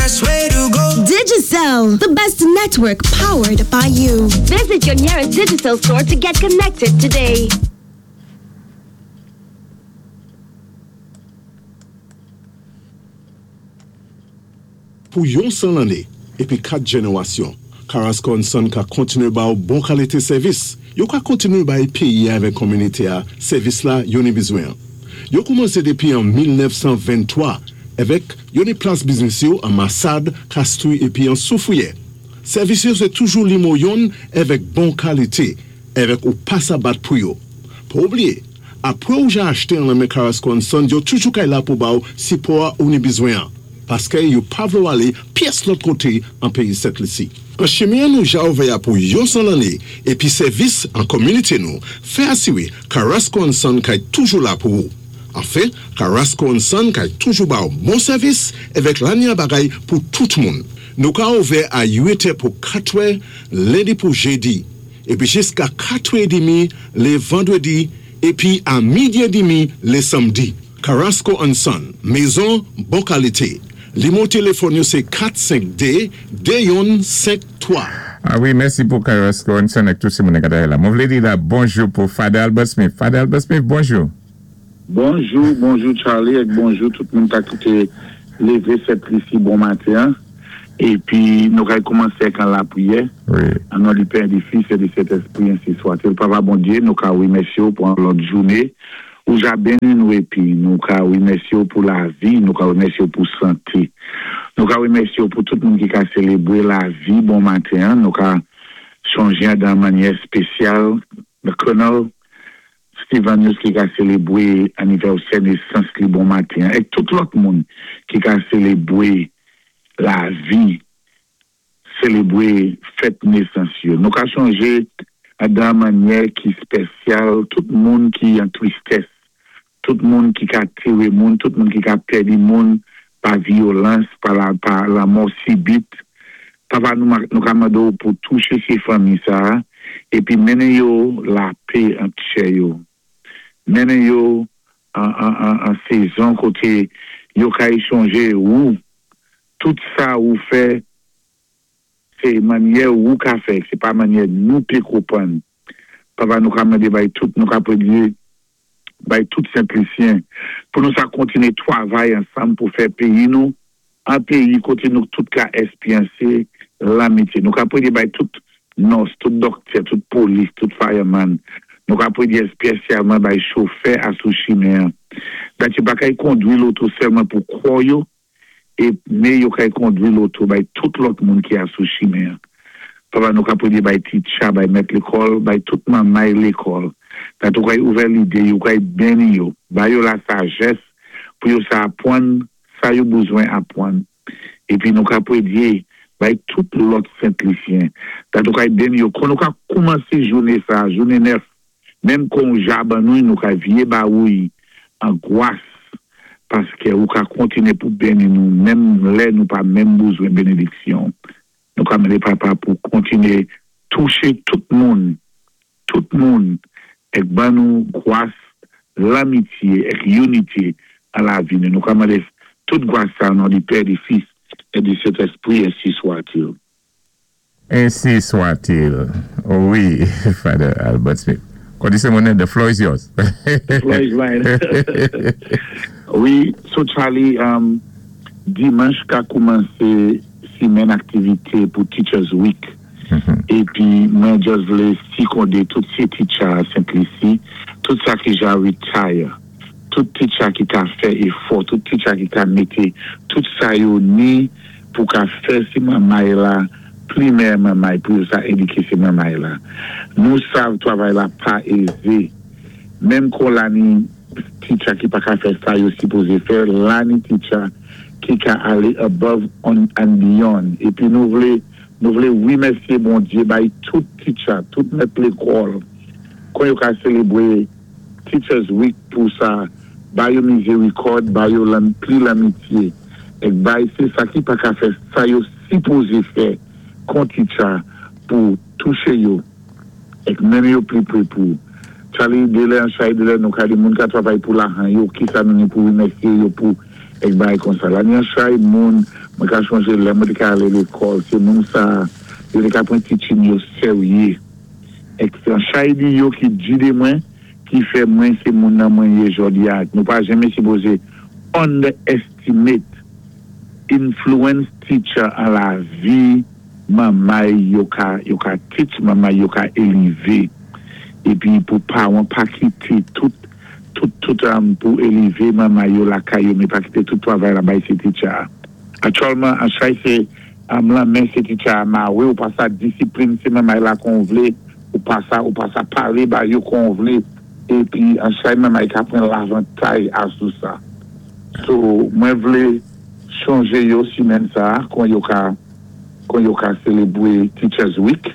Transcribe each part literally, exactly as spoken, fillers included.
best way to go. Digicel, the best network powered by you. Visit your nearest Digicel store to get connected today. Pou yon san lanné, épi kat jénéwasyon, Carasco and Son ka kontiné ba ou bon kalité sèvis. Yo ka kontiné bay péyi avèk kominité-a sèvis la yo ni bizwen. Yo koumansé dépi an mil nèf san venntwa avèk yo ni plas biznis yo an Massade, Castries épi an Soufrière. Sèvis yo sé toujou nimewo youn avèk bon kalité, avèk ou pa sa bat pou yo. Pa oubliyé, apwé ou ja achté an nan men Carasco and Son, yo toujou kay la pou ba ou sipò ou ni bizwen. Paské yo pa vlé ou alé pyès lòt koté an péyi Sent Lisi. An chimen nou ja ouvè pou yon san lanné épi sèvis an kominité nou, fè asiwé Carasco and Son kay toujou la pou ou. Anfen, Carasco and Son kay toujou ba ou bon sèvis avèk lanya bagay pou tout moun. Nou ka ouvè a uit è pou kat è, lendi pou jédi, épi jiska kat è dmi lé vandwédi, épi a midi édmi lé sanmdi. Carasco and Son, mézon bon kalité. Nimewo téléfòn yo sé kat senk dé de youn senk twa. Ah wi, mèsi pou Carasco and Son ak tout sé moun ki la. Mwen vlé di la bonjou pou Father Albert Smith. Father Albert Smith, bonjou. Bonjou, bonjou Charlie é bonjou tout moun ki té lévé Sent Lisi bon maten. Épi nou kay koumansé ak lapriyè. Wi. An non di Pè, di Fis é di Sentèspri, ensi swa-t-il. Papa Bondyé, nou ka wimèsyé ou pou yon lòt jouné. Ou ja béni nou épi nou ka wimèsyé ou pou lavi, nou ka wimèsyé ou pou santé. Nou ka wimèsyé ou pou tout moun ki ka sélébwé lavi bon maten. Nou ka chonjé dan mannyè spésyal le Colonel Steven News ki ka sélébwé anivèsè nésans li bon maten é tout lòt moun ki ka sélébwé lavi, sélébwé fèt nésans yo. Nou ka chonjé dan mannyè ki spésyal tout moun ki an tristès, tout moun ki ka téwé moun, tout moun ki ka pèdi moun pa vyolans, pa la pa lanmò sibit. Papa, nou nou ka mandé ou pou touché sé fanmi sa épi mennen yo lapè an tchè yo. Mennen yo an, an, an, an sézon koté yo ka échanjé ou tout sa ou fè sé mannyè ou ka fè, sé pa mannyè nou pé konpwann. Papa, nou ka mandé bay tout, nou ka pwédyé bay tout Sent-Lisyen pou nou sa kontiné twavay ansanm pou fè péyi nou an péyi koté nou tout ka èspéryansé lanmityé. Nou ka pwédyé bay tout nurse, tout doktè, tout polis, tout fireman. Nou ka pwédyé èspésyalman bay chofè a sou chimen. Dat yo pa kay kondwi loto sèlman pou kò yo, é mé yo kay kondwi loto bay tout lòt moun ki a sou chimen. Papa, nou ka pwédyé bay teacher, bay mèt lékòl, bay tout manmay lékòl. Dat ou kay ouvè lidé yo, kay béni yo, bay yo la sajès pou yo sa apwann, sa yo bizwen apwann. Épi nou ka pwédyé bay tout lòt Sent-Lisyen. Dat ou kay béni yo, kon nou ka koumansé jouné sa, jouné nèf, menm kon ja ban nou, nou ka vyé ba ou an gwas, paské ou ka kontiné pou béni nou, menm lè nou pa menm bizwen bénédiksyon. Nou ka mandé Papa pou kontiné touché tout moun, tout moun, é ban nou gwas, lanmityé, é inité a lavi. Nou ka mandé tout gwas sa, non di Pè, di Fis, é di Sentèspri, ensi swa-t-il. Ensi swa-t-il. Wi, Father Albert Smith. Kondisyon monnen, the floor is yours. The floor is mine. Wi, so Charlie, um, dimanch ka koumansé simenn aktivité pou Teachers Week. Épi, mwen just vlé sikondé tout sé teacher a Sent Lisi, tout sa ki ja retire, tout teacher ki ka fè éfò, tout teacher ki ka mété, tout sa yo ni pou ka fè sé manmay la, plimè manmay, pou sa édiké sé manmay la. Nou sav twavay la pa ézé. Menm kon la ni teacher ki pa ka fè sa yo sipozé fè, la ni teacher ki ka alé above on and beyond. Épi nou vlé, nou vlé wimèsyé Bondyé bay tout teacher, tout mèt lékòl, kon yo ka sélébwé Teachers Week pou sa, bay yo mizérikòd, bay yo lan, pli lanmityé, é bay sé sa ki pa ka fè sa yo sipozé fè kon teacher pou touché yo, é menm yo pli pwé pou. Charlie, délè an chay, délè nou ka di moun ka twavay pou lajan yo, ki sa nou ni pou wimèsyé yo pou é bay kon sa. La ni an chay moun, Mwen ka chonjé lè mwen té ka alé lékòl, sé moun sa, yo té ka pran teaching yo séryé. Èk sé an chay di yo ki gidé mwen, ki fè mwen sé moun nan mwen yé jòdi a. Nou pa janmé sipozé underestimate influence teacher an lavi manmay yo ka, yo ka teach, manmay yo ka élevé. Épi pou pawan pa kité tout tout, tout um, pou élevé manmay yo lakay yo, mé pa kité tout twavay la bay sé teacher. Aktyèlman, an chay sé um, la men sé teacher a mawé, ou pa sa disiplin sé manmay la kon vlé, ou pa sa, ou pa sa palé ba yo kon vlé, épi an chay manmay ka pran lavantay asou sa. So, mwen vlé chonjé yo simèn sa, kon yo ka kon yo ka sélébwé Teachers Week,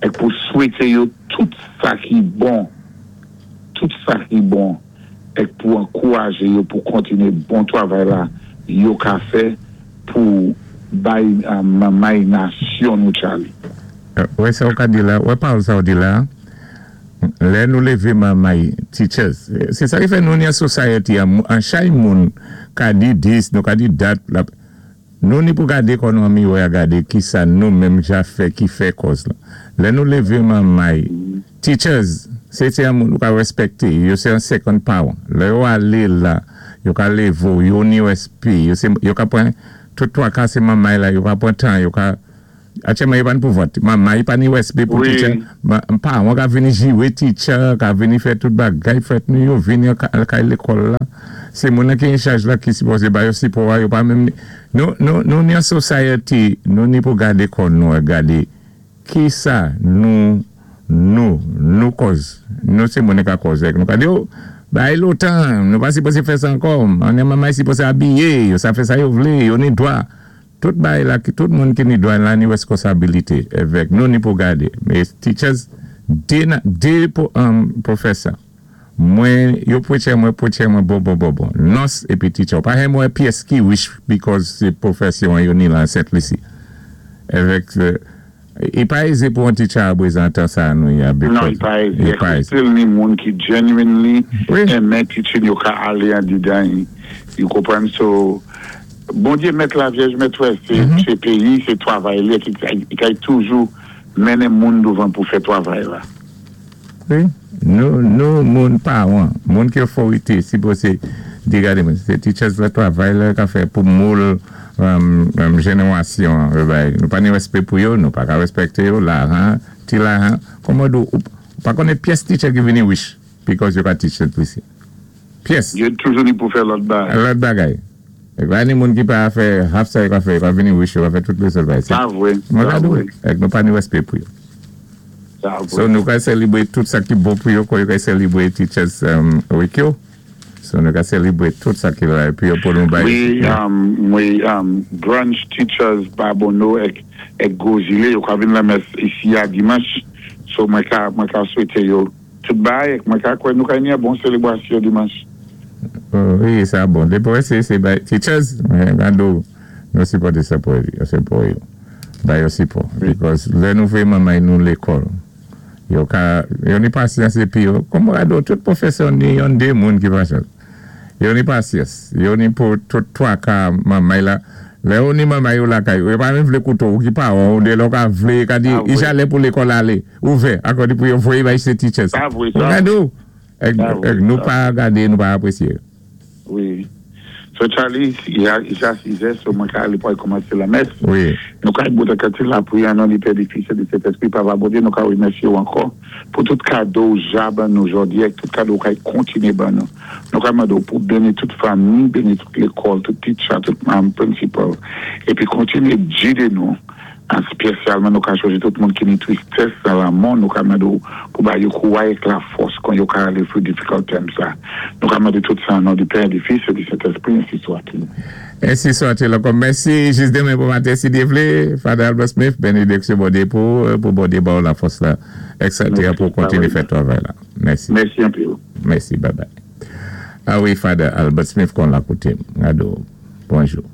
èk pou swété yo tout sa ki bon, tout sa ki bon, èk pou ankourajé yo pou kontiné bon twavay la, yo ka fè pou bay um, manmay nasyon nou Charlie. Wè sa ou ka di la, wè pa ou sa ou di la, lè nou lévé manmay teachers, sé sa ki fè nou ni an society, an, an chay moun ka di this, nou ka di that, la, nou ni pou gadé kon nou ami wè a gadé ki sa nou menm ja fè, ki fè kòz la. Lè nou lévé manmay teachers, sé té an moun nou ka respekté, yo sé an second power. Lè yo alé la, yo ka lévé ou, yo ni respè, yo, sé, yo ka pran, tout twa ka sé manmay la, yo ka pran tan, yo ka, Aktyèlman yo pa ni pou vòt. Manmay pa ni respè pou Wi. teacher. Ma, pa, mwen ka vini jiwé teacher, ka vini fè tout bagay, fèt nou yo vini ka, kay lékòl la. Sé moun ki an chaj la ki sipozé ba yo sipò a, yo pa menm ni. Nou, nou, nou ni an society, nou ni pou gadé kon nou, gadé ki sa nou, nou, nou kòz. Nou sé moun ka kòz èk. Nou ka di, oh, bay lontan, nou pa sipozé fè sa ankò. An yon manmay sipozé abiyé, yo sa fè sa yo vlé, yo ni dwa. Tout bay la, ki- tout moun ki ni dwa la ni responsabilité avèk nou ni pou gadé. Mé teachers, dé, na- dé pou, um, professor, mwen, yo pwéché mwen, pwéché mwen, bon, bon, bon, bon. Nurse épi teacher. Pa mwen pyès ki rich because sé pwofèsyon yo ni la Sent Lisi. Avèk, euh, i pa ézé pou an teacher a prezantan sa nou ya. Non, i pa ézé. I pa ézé. Still ni moun ki genuinely Wi. renmen teaching yo ka alé an didan. You konprann? So, Bondyé mèt la Vyèj mèt wè, sé Mhm. sé péyi, sé twavay li, ki ki kay toujou mennen moun douvan pou fè twavay la. Wi. Nou, nou, moun pawan, moun ki otorité, sipozé di gade moun, sé teachers la twavay la ka fè pou moul um, um, jénéwasyon, euh, bay. Nou pa ni respè pou yo, nou pa ka respekté yo, lajan, ti lajan, kòman dou, ou, ou pa konnen pyès teacher ki vini rich, because yo ka teach Sent Lisi. Pyès. Yo toujou ni pou fè lòt bagay. Lòt bagay. E pa ni moun ki pa fè half sa yo ka fè, yo ka vini rich, yo ka fè tout lé bagay. Sa vwé, Mwen sa ka dou, vwé, èk nou pa ni respè pou yo. Sa vwé. So nou ka sélébwé tout sa ki bon pou yo, kon yo ka sélébwé Teachers um, Week yo. So nou ka sélébwé tout sa ki la, pi yo pou nou bay. Wi, um, wi, um, branch teachers Babonneau èk, èk Gwo Zilé, yo ka vin la mès isi a dimanch. So mwen ka, mwen ka swété yo tout bay, èk mwen ka kwè nou ka ni a bon sélébwasyon dimanch. Oh, wi, sa bon. Dépi sé, sé bay teachers, mwen gado, nou sipòté sa pou yo, sipò yo. Bay yo sipò. Because lè nou fè manmay nou lékòl, yo ka, yo ni pasyans épi yo, kòm gado, tout pwofèsè ni yon dé moun ki pasyans. Yo ni pasyans. Yo ni pou tout twa ka manmay la, lè yo ni manmay yo lakay, yo pa menm vlé kouto ou ki pa ou, de lò ka vlé, ka di, Ah, i wi. jalè pou lékòl alé, ouvè, akò di pou yo voyé bay sé teachers. Sa vwé, sa Gado, èk, Sa vwé, èk nou sa pa gadé, nou pa apwésyé. Wi. So Charlie, i ja, i ja sizè, so mwen ka alé pou al kòmansé la mès. Wi. Nou ka bout akati la pwiyé an non di Pè, di Fis, di Sentespri, Papa Bondyé, nou ka wimèsyé ou ankò pou tout kado ou ja ban nou jòdi, èk tout kado ou kay kontiné ban nou. Nou ka mandé ou pou béni tout fanmi, béni tout lékòl, tout teacher, tout manm principal, épi kontiné gidé nou. An spésyalman nou ka chonjé tout moun ki ni tristès nan lamò, nou ka mandé ou pou ba yo kouway èk la fòs kon yo ka alé through difficult times sa. Nou ka mandé tout sa an non di Pè, di Fis, di Sentespri, ainsi soit-il. Ainsi soit-il ankò. Mèsi, jis démen pou maten, si Dye vlé, Father Albert Smith, bénédiksyon Bondyé pou, pou Bondyé ba ou la fòs la, et cetera Mèsi, pou kontiné ah wi. Fè twavay la. Mèsi. Mèsi anpil. Mèsi, bye bye. Ah wi, Father Albert Smith kon la kouté. Gado, bonjou.